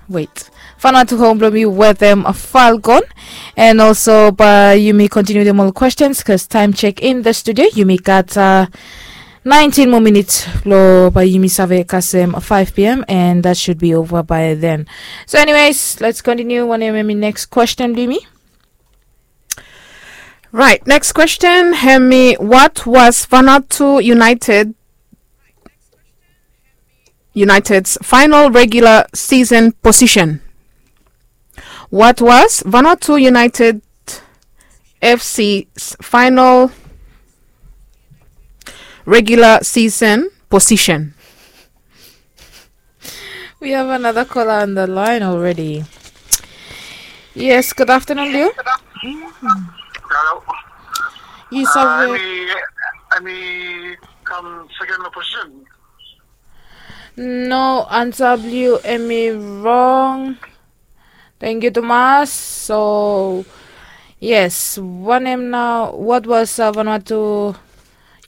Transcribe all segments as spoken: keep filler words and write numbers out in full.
Wait. Fanatu home blong mi wetem Falcon. And also bae yumi continue dem ol questions because time check in the studio yumi gat uh, nineteen more minutes lo bae yumi save kasem five p.m. and that should be over by then. So anyways, let's continue. Wanem hemi next question blong yumi? Right, next question hemi, what was Vanuatu United United's final regular season position? What was Vanuatu United F C's final regular season position? We have another caller on the line already. Yes, good afternoon, Liu. Hello. You Uh, sabi? Emi, Emi kam second lo position. No, ansa blong yu hemi wrong. Thank you, Thomas. So, yes, wanem nao, what was uh, Vanuatu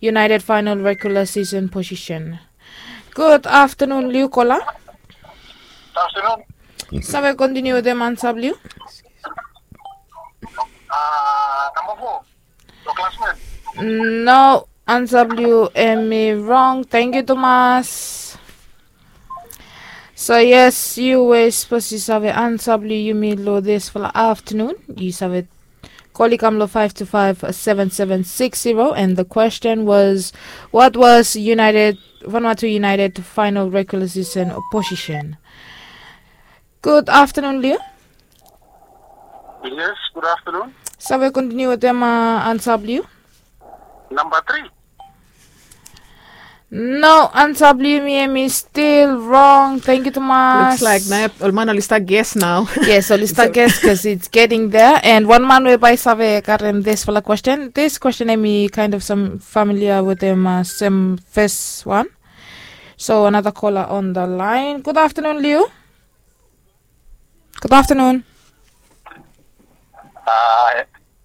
United final regular season position? Good afternoon, Liu caller. Afternoon. Save continue wetem ansa blong yu? Uh, number four. Your classmate. No, ansa blong yu hemi wrong. Thank you, Thomas. So yes, yu we suppose yu save ansa blong yumi lo disfala afternoon. Yu save call i kam lo five two five seven seven six zero, and the question was, what was United Vanuatu United final regular season position? Good afternoon, Liu. Yes, good afternoon. Save continue wetem uh, ansa blong yu? Number three. No, ansa blong yumi hemi still wrong. Thank you, Thomas. Looks like na ol man oli start guess now. Yes, oli start guess because it's getting there. And wan man we bae save karem disfala question. This question hemi kind of some familiar wetem uh, sem first one. So another caller on the line. Good afternoon, Liu. Good afternoon. Uh,